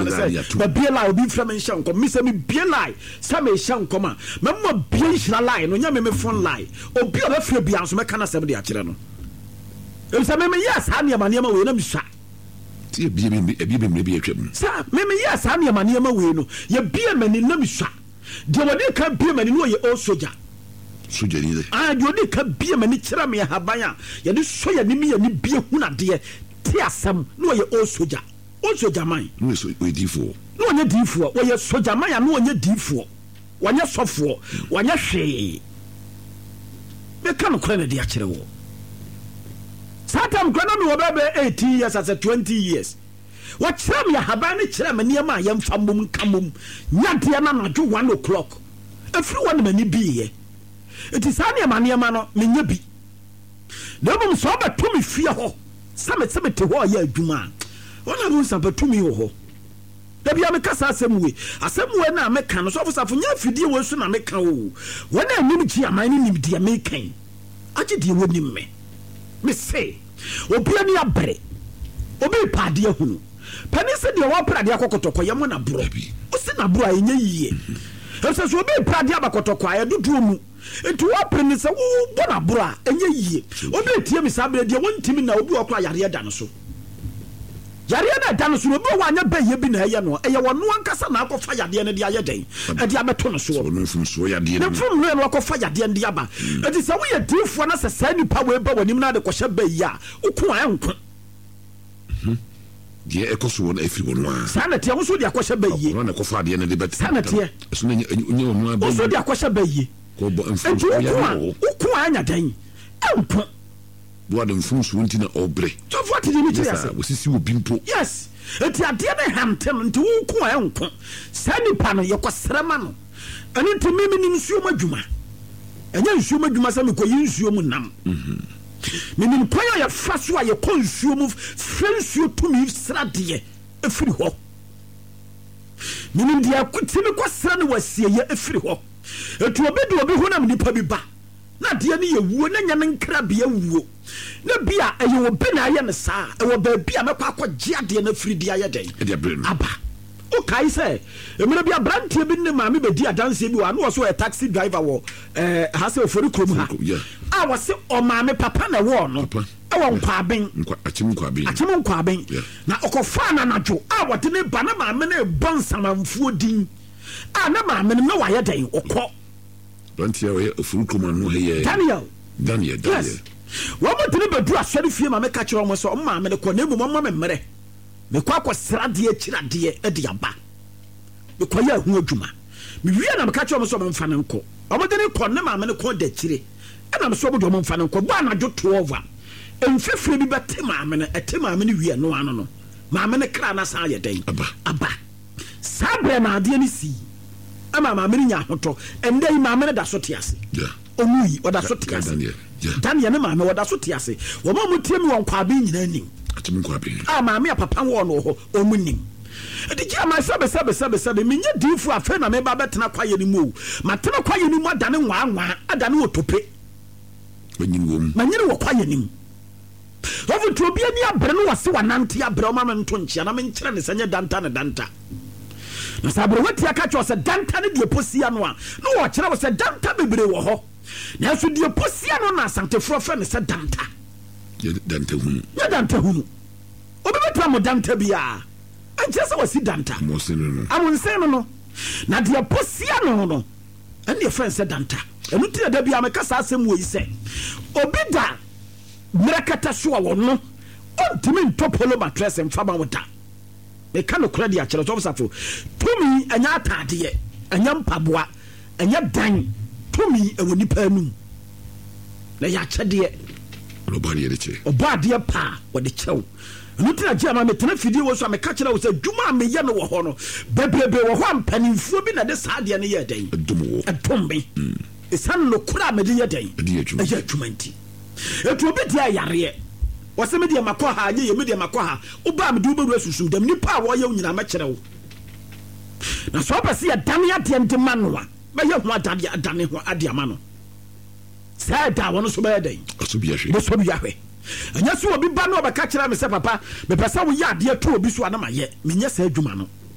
ne sɛ mabie line, obi mfrɛ me nhyɛ nkɔm. Me sɛ mebie line sɛ mehyɛ nkɔm a, mɛma bie nhyira line no, nyɛ me me phone line. Obi a ɔbɛfrɛ biara nso mɛka n'asɛm de akyerɛ no. Efisɛ me meyɛɛ saa nneɛma nneɛma wei na mesua. Ti ebie bi ebie bi mmerɛ bi atwam. Sɛ me meyɛɛ saa nneɛma nneɛma wei no, yɛbie m'ani na mesua. Deɛ wɔde ka bie m'ani no ɔyɛ old soldier. Sogyani dɛ. Ah, deɛ ɔde ka bie m'ani kyerɛ me ahaban a yɛde sɔ yɛn anim yɛn ani bie hunu adeɛ te asɛm na ɔyɛ old soldier. Old soldier man. Na ɔyɛ ɔyɛ diifoɔ. Na ɔnyɛ diifoɔ, ɔyɛ soldier man a na ɔnyɛ diifoɔ, ɔnyɛ sɔfoɔ, ɔnyɛ hwee. Meka nokorɛ na de akyerɛ wɔ. Saa tam koraa na mewɔ bɛyɛ bɛyɛ 18 years asɛ 20 years. Wɔkyerɛɛ me ahaban no kyerɛɛ me nneɛma a yɛmfa mmom nka mmom nyɛ adeɛ no anadwo one o'clock. Ɛfiri hɔ na m'ani biiɛ. Nti saa nneɛma nneɛma no menyɛ bi. Na mmom sɛ wɔbɛto me fie hɔ sɛ mete mete hɔ reyɛ adwuma a, wɔn a wɔhu sɛ tumi wɔ hɔ. Da biara meka saa asɛm wei. Asɛm wei no a meka no, Sɔfo Safo, nyɛ afidie wei so na meka o. Wɔn a ɛnim gye aman no nim deɛ meka yi. Agye deɛ wɔnim me. Mese, obi ani abere, obi repɛ adeɛ ahunu. Panin se deɛ ɔrepere adeɛ akɔ kɔtɔkɔ yɛ mo na borɔ. Wosi na borɔ a ɛnyɛ yie. Efisɛ sɛ obi repere adeɛ aba kɔtɔkɔ a ɛdodoɔ mu. Nti wɔpere no sɛ wobɔ no aborɔ a ɛnyɛ yie. Obi retie me saa berɛ deɛ wɔntumi nna obi wɔ hɔ koraa yareɛ da no so. Yareɛ no a ɛda no so no, obi wɔ hɔ a anyɛ bɛyɛ bi na ɛyɛ no, ɛyɛ ɔno ankasa na akɔfa yadeɛ no de ayɛ dɛn? Ɛde abɛto no soɔ. Ɔno mfomsoɔ yadeɛ Ne no. mfomsoɔ no akɔfa yadeɛ no de aba. Enti sɛ woyɛ diifoɔ na sɛ saa nipa wei ba w'anim na ade kɔhyɛ bɛyi a, woko a ɛnko. Deɛ ɛkɔ so wɔ no ɛfiri wɔn ara. Saa na ɛteɛ, wo nso wode akɔhyɛ bɛyie. Ɔno na ɛkɔfa adeɛ no de bɛto. Saa na ɛteɛ. Ɛso na ɛnyɛ ɔno ara Wo nso bɛyi. wode akɔhyɛ bɛyie. Kɔbɔ Enti mfomsoɔ woko yadeɛ a, wɔ hɔ. woko a ɛnya dɛn? Ɛnko. Boa de mfomsoɔ nti na ɔbrɛ. Sɔfo ate deɛ mekyerɛ Nyɛ ase. saa, wɔsisi obi mpo. Yes, enti adeɛ no hante no, nti wo nko a ɛnko. Saa nipa no, yɛkɔsrɛ ma no. Ɛno nti me menim nsuo mu adwuma. Ɛnyɛ nsuo mu adwuma sɛ mekɔyi nsuo mu nam. Menim kwan a yɛfa so a yɛkɔ nsuo mu frɛ nsuo tumi sradeɛ firi hɔ. Menim deɛ tumi kɔsrɛ no wɔ asieeɛ firi hɔ. Enti obi de obi honam nipa bi ba. Na adeɛ no yɛ wuo, na nyɛ ne nkrabea wuo, na bi a ɛyɛ obi na ayɛ no saa a, ɛwɔ baabi a mɛkɔ akɔgye adeɛ no afiri de ayɛ dɛn? Aba. Wokae sɛ mmerɛ bi aberanteɛ bi ne ne maame bɛdi adanseɛ bi wɔ ha, na ɔse ɔyɛ taxi driver wɔ eh, ha sɛ Ofori kurom ha, a wɔse ɔmaame papa na ɛwɔɔ no ɛwɔ Nkwaaben, Akyem Nkwaaben, na ɔkɔfaa no anadwo a wɔde ne ba, na maame no rebɔ nsamanfoɔ din a na maame no na wayɛ dɛn? Ɔkɔ. Aberanteɛ a ɔyɛ ofuru kurom ano ha yɛ. Daniel. Daniel, Daniel. Yes. Wɔn mo de no bɛduru asɔre fie ma meka kyerɛ wɔn sɛ wɔn maame no kɔ na mmom wɔn ma me mmerɛ. Mekɔ akɔsra adeɛ akyiri adeɛ de aba. Mekɔyɛ ɛho adwuma. Mewie na meka kyerɛ wɔn sɛ wɔn mfa no nkɔ. Wɔn de no kɔ ne maame no kɔn da akyire. Ɛna me sɛ wɔn de wɔn mfa no nkɔ. Bɔ anadwo 12 a mfifire bi bɛte maame no. Ɛte maame no wie ɛno ano no maame no kra no asan ayɛ dɛn? Aba. Saa berɛ no adeɛ no sii ma maame no nyaa ahotɔ. Ɛnnɛ yi maame no da so te ase. Ɔwui, ɔda so te ase. Daniel ne maame wɔda so te ase. Wɔn a wɔtie me wɔ Nkwaben nyinaa nim. A maame a papa wɔɔ no wɔ hɔ, wɔn nim. Ɛde gye ama sɛbe sɛbe sɛbe sɛbe menyɛ diifoɔ afei na meba bɛtena kwaeɛ no mu o. Matena kwaeɛ no mu adane nwaanwaa, adane otope. Manyini wɔ kwaeɛ no mu. Sɔfo nti obi ani abere no wɔse wanante abrɛ ɔma me nto nkyea na menkyerɛ ne sɛ nyɛ danta ne danta. Na sɛ aberewa tia ka kyerɛ sɛ danta ne deɛ posia no a, na wɔkyerɛ wo sɛ danta bebree wɔ hɔ. Nanso deɛ posia no na Asantefoɔ frɛ no sɛ danta. Nyɛ danta hunu. Nyɛ danta hunu. Obi bɛtena mo danta biara ɛnkyerɛ sɛ wasi danta. Amonsen no no. Amonsen no no. Na deɛ posia no no ɛne yɛfrɛ no sɛ danta. Ɛno nti na da biara meka saa asɛm wɔ yi sɛ obi da Mmerɛkɛtɛ so a ɔno ɔntumi ntɔ polo matress mfa ma wo da. Meka nokorɛ de akyerɛ Sɔfo Safo, tumi ɛnyɛ ataadeɛ, ɛnyɛ mpaboa, ɛnyɛ dan, tumi ɛwɔ nipa anum. Na ɛyɛ akyɛdeɛ. Ɔbɔ adeɛ de kyɛ. Ɔbɔ adeɛ pa a ɔde kyɛ wo. Ɛno nti na gye ama metena fidie wɔ so a meka kyerɛ wo sɛ adwuma a meyɛ no wɔ hɔ no, bebrebe wɔ hɔ a mpanimfoɔ bi na ɛde saa adeɛ no yɛɛ dɛn? Ɛdom wo. Ɛdom me. Ɛsiane nokorɛ a mede yɛ dɛn? Ɛde yɛ adwuma. Ɛyɛ adwuma nti. Enti obi deɛ yareɛ. Wɔse me deɛ makɔ ha anyɛ yie, me deɛ makɔ ha. Woba a mede wo bɛwura sunsum dɛm. Nnipa a wɔyɛ wo nyinaa mɛkyerɛ wo. Na sɛ wopɛ sɛ yɛdane adeɛ no de ma no a, mɛyɛ ho adadeɛ adane ho adeɛ ama no. Saa ɛda a wɔn nso bɛyɛ dɛn? Ɔsɔ bi ahwɛ. Bɛsɔ bi ahwɛ. Ɛnyɛ sɛ obi ba na ɔbɛka kyerɛ me sɛ papa mepɛ sɛ woyɛ adeɛ to obi so a na mayɛ. Menyɛ saa adwuma no.